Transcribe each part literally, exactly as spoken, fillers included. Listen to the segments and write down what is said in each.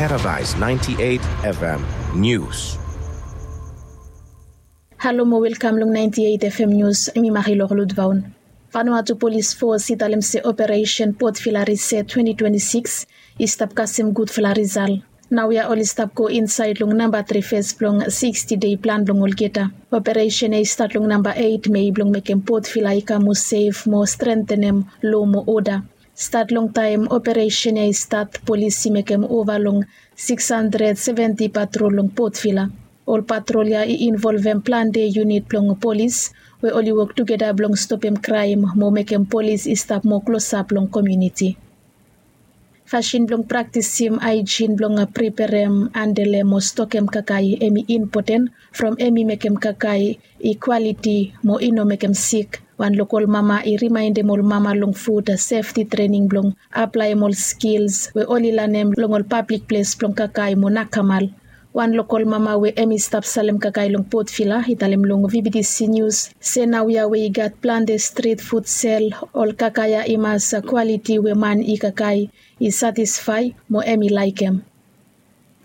Paradise ninety-eight F M News. Halo mo welkam long ninety-eight F M News, mi Marilor Ludvaun. Vanuatu Polis Fos i talem se operesen Potvila Riset twenty twenty-six i stap kasem gudfala risal. Naoia oli stap go insaed long namba tri fes blong sixty dei plan blong olgeta. Operesen ya i stat long namba eit Mei blong mekem Potvila i kam moa sef mo strentenem lo mo oda. Stat long taem operesen ya i stat, polis i mekem ova long six hundred seventy patrol long Potvila. Ol patrol ya i involvem plante yunit blong polis we oli wok tugeta blong stopem kraem mo mekem polis i stap moa klosap long komuniti. Fasin blong praktisim aejin blong preperem, andele mo stokem kakae hemi impoten from hemi mekem kakae i kwaliti mo i no mekem sik. Wan lokol mama i rimaendem ol mama long fud sefti trening blong aplaem ol skils we oli lanem long ol pablik ples blong kakae mo nakamal. Wan lokol mama we hemi stap salem kakae long Potvila i talem long V B T C News se naoia we i gat plante strit fud sel, ol kakae ya i mas kwaliti we man i kakae i satisfae mo hemi laekem.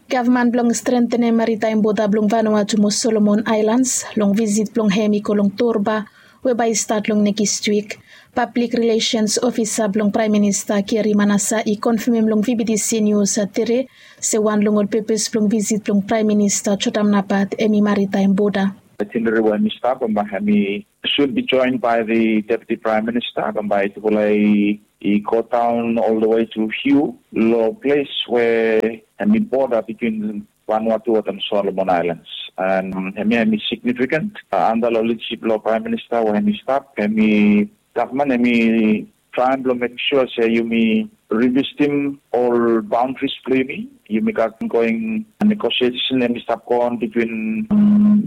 Gavman blong strentenem maritaem boda blong Vanuatu mo Solomon Aelans long visit blong hem i go long Torba we bae i stat long nekis wik. Pablik rilesens ofisa blong Praem Minista Keri Manasa i konfamem long V B T C Nius tede se wan long ol pepes blong visit blong Praem Minista Jotam Napat hemi maritaem boda. Itinerari we hemi stap bambae hemi soon be joined by the Deputy Prime Minister. Bambae tufala i go down all the way to Hugh lo ples we hemi boda between Vanuatu wetem Solomon Islands. And hemia hemi significant, antap lo lidasip blo Praem Minista we hemi stap, hemi gavman hemi traem blo mekem sua se yumi revisitem ol baondris blo yumi. Yumi gat ongoing negosiesen hemi stap goon between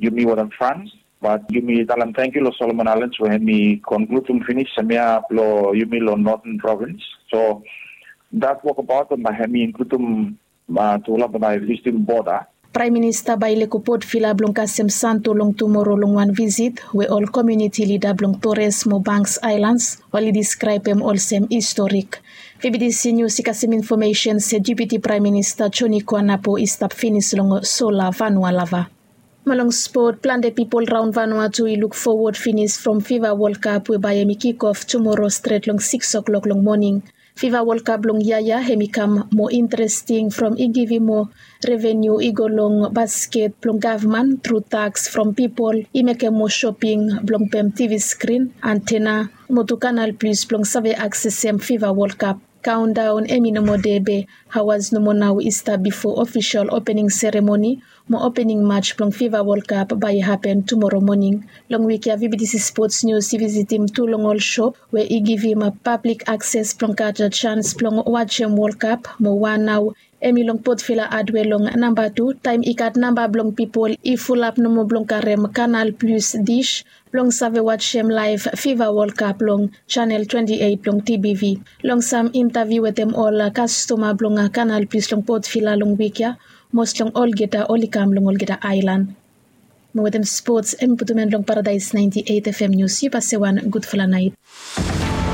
yumi wetem Frans. Bat yumi talem tangkiu lo Solomon Aelans we hemi konkludum finis hemia blo yumi lo Northern Provins. So dat wokabaot bambae hemi inkludum tufala bambae visitim boda. Praem Minista bae i lego Port Vila blong kasem Santo long tumoro long wan visit we ol komuniti lida blong Torres mo Banks Aelans oli diskraebem olsem historik. V B T C Nius i kasem infomesen se Deputi Praem Minista Joni Kuanapo i stap finis long Sola Vanua Lava. Mo long spot, plante pipol raon Vanuatu i luk fowod finis from Fiva Wol Kap we bae hemi kikof tumoro stret long sikis oklok long moning. Fiva Wol Kap blong yia ya hemi kam moa interesting from i givim moa reveniu i go long basket blong gavman tru taks from pipol i mekem moa shoping blong pem TV skrin, antena mo tu Kanal Plis blong save aksesem Fiva Wol Kap. Kaondaon hemi no moa de be aoas nomo nao i stap bifo ofisol opening seremoni mo opening maj blong Fiva Wol Kap bae i hapen tumoro moning. Long wik ya V B T C Spots Nius i visitim tu long ol shop we i givim pablik akses blong gat jans blong wajem Wol Kap mo wan nao hemi long Port Vila Adwe long namba tu taem i gat namba blong pipol i fulap nomo blong karem Kanal Plis dis blong save wajem laev Fiva Wol Kap long janel twenti eit blong TBV. Long sam intaviu wetem ol kastoma blong Kanal Plis long Port Vila long wik ya, mos long olgeta oli kam long olgeta aelan. Mo wetem spots hemi putum en long Paradaes naenti eit FM Nius. Yu pase wan gudfala naet.